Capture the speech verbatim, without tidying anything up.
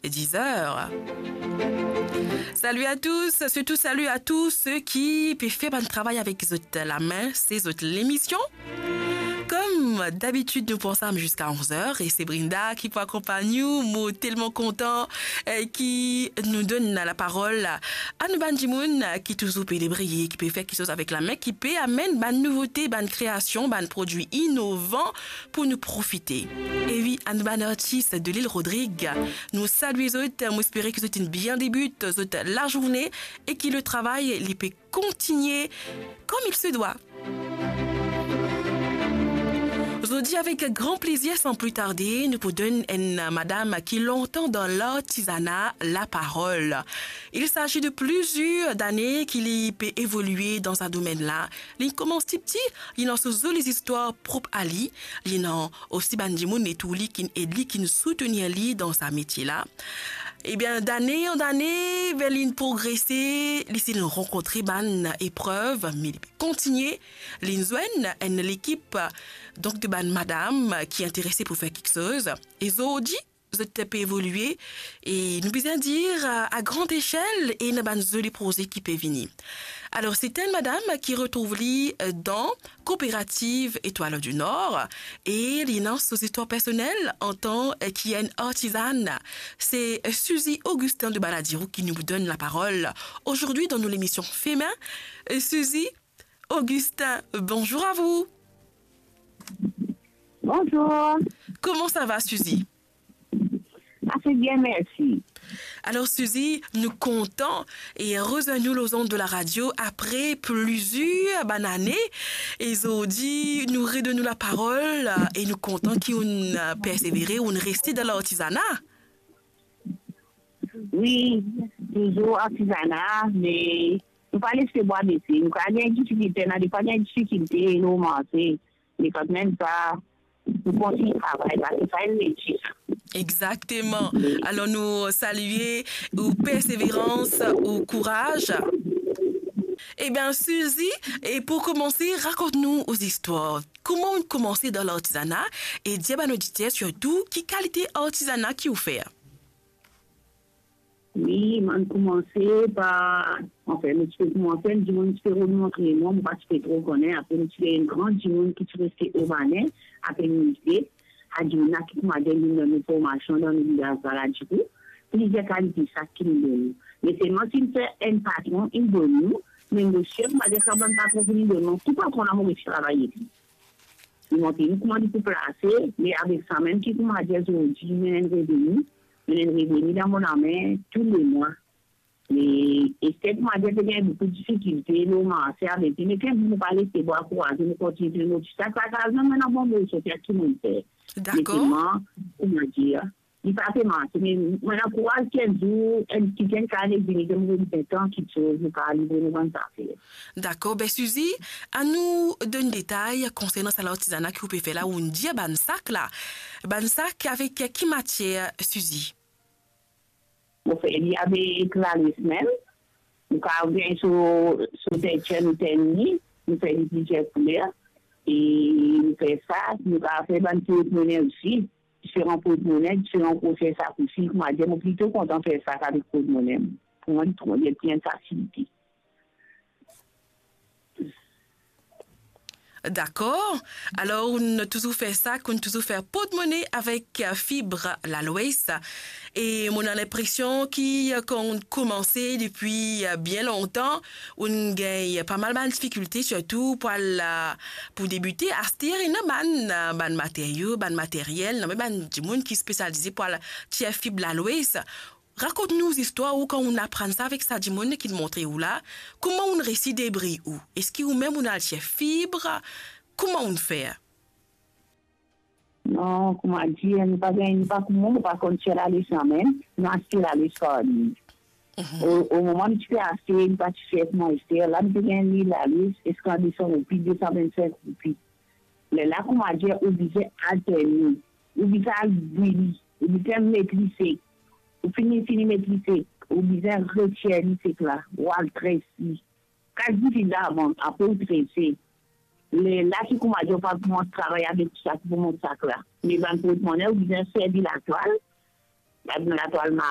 diz er. Salut à tous, surtout salut à tous ceux ki pe fer bann travay avek zot lame, se zot lemision. Kom dabitid, nou pou ansam ziska onz er e se Brinda ki pou akonpagn ou. Mo telman kontan, eh, ki nou donn laparol a nou bann dimoun ki touzour pe debriye, ki pe fer kiksoz avek lame, ki pe amenn bann nouvote, bann kreasion, bann prodwi inovan pou nou profite. E wi, a nou bann artis de Lil Rodrig, nou salie zot, mo espere ki zot inn bien debit zot lazourne e ki le travay li pe kontigne comme il se doit. Zordi, avek gran plezir, san pli tarde, nou pou donn enn madam ki lontan dan lartizana laparol. Il s'agit de plizier dane ki li pe evolie dan sa domenn la. Li koumans tipti, li ena so zoli zistwar prop a li, li ena osi bann dimoun letour li ki'nn ed li, ki'nn soutenir li dan sa metie la. Ebien, dane an dane, ver li'nn progrese, li si'nn rankontre bann eprev, me li pe kontigne, li'nn zwenn enn lekip, donk, de bann madam ki interese pou fer kiksoz. E zordi, zot pe evolie, e nou bizin dir, a gran echel, e ena bann zoli proze ki pe vini. Alor, se enn madam ki retrouv li, eh, dan Kooperativ Etoile du Nord, e li ena so zistwar personel antan, eh, ki enn artizan. Se, eh, Suzy Augustin de Balladirou ki nou donn laparol zordi dan nou lemision Femin. Eh, Suzy Augustin, bonjour à vous. Bonjour. Comment ça va, Suzy ? Ah, c'est bien, merci. Alor, Suzy, nou kontan e rezwenn ou lor zond de la radio apre plizier bann ane. E zordi, nou redonn ou laparol, e nou kontan ki ou'nn persevere, ou'nn reste dan lartizana. Wi, touzour artizana, me nou pa les lebwa bese. Nou kapav gagn difikilte, ena defwa gagn difikilte lor marse. Me kanmem sa, nou kontign travay, paski sa enn metie sa. Exactement. Alor, nou salie ou perseverans, ou kouraz. Ebien, Suzy, e pou koumanse, rakont nou ou zistwar. Kouma ou koumanse dan lartizana? E dir bann oditer sirtou ki kalite artizana ki ou fer. Wi, mo'nn koumanse par, anfin, mo ti pe koumanse, enn dimoun ti pe rod montre mwa, mo pa ti pe tro kone. Apre, mo ti gagn enn gran dimoun ki ti reste Obane, apel Moize. Sa dimoun la ki koumadir donn nou formasion dan nou vilaz la, la, dikou, plizier kalite sak ki nou donn nou. Me selman, si nou fer enn patron, li donn nou, me mo sir, koumadir sa bann patron finn donn nou, tou patron la, mo resi travay ek li. Li montre nou kouma li pou plase, me avek sa mem ki koumadir zordi, mo ena enn reveni, mo ena enn reveni dan mo lame tou le mwa. Me, ester, koumadir, pe gagn boukou difikilte lor marse avek li, me ker mo pa les lebwa kouraze, mo kontign fer mo ti sak, sa kapav donn mwa enn bon morso, fer ki mo fer. Me Dakor. Selman, koumadir, li pa pe marse, me mo ankouraz ki enn zour, enn kikenn kapav vini, donn mo enn tan, kiksoz, mo kapav livre mo bann zafer. Dakor, be Suzy, anou donn detay konsernan sa lartizana ki ou pe fer la, ou'nn dir bann sak la. Bann sak avek ki matier, Suzy? Mo fer li avek lalwes mem. Nou kapav gagn so, so tintir nou tenn li, nou fer li plizier kouler, e nou fer sa, nou kapav fer bann portmone osi, diferan portmone, diferan groser sak osi. Koumadir, mo plito kontan fer sak avek portmone. Pou mwa, li tro, li pli enn fasilite. Dakor. Alor, ou'nn touzour fer sak, ou'nn touzour fer portmone avek, eh, fib lalwes. E mo ena linpresion ki, eh, kan ou'nn koumanse depi, eh, bien lontan, ou'nn gagn pa mal bann difikilte, sirtou pou al, eh, pou debite. Aster, ena bann, eh, bann materio, bann materiel, ena mem bann dimoun ki spesialize pou al tir fib lalwes. Rakont nou zistwar ou kan ou'nn aprann sa avek sa dimoun ki montre ou la, kouma ou'nn resi debriy ou? Eski ou mem ou'nn al tir fib? Kouma ou'nn fer? Non, koumadir, nou pa gagn, nou pa kouma, nou pa konn tir lalwes mem, nou aste lalwes par li. Mhm. O, o moman nou ti pe aste, nou pa ti fer kouma ester, la nou pe gagn li lalwes, ziska de san roupi, de san vinn-sink roupi. Lerla, koumadir, ou bizin alterne, ou bizin al bwi li, ou bizin met li sek. Ou fini, fini met li sek, ou bizin retir li sek la, ou al tres li. Kas difi la avan, apre ou trese. Lerla ki koumadir ou pa koumans travay avek sak pou mont sak la. Me bann portmone, ou bizin servi latwal, Ladin latwal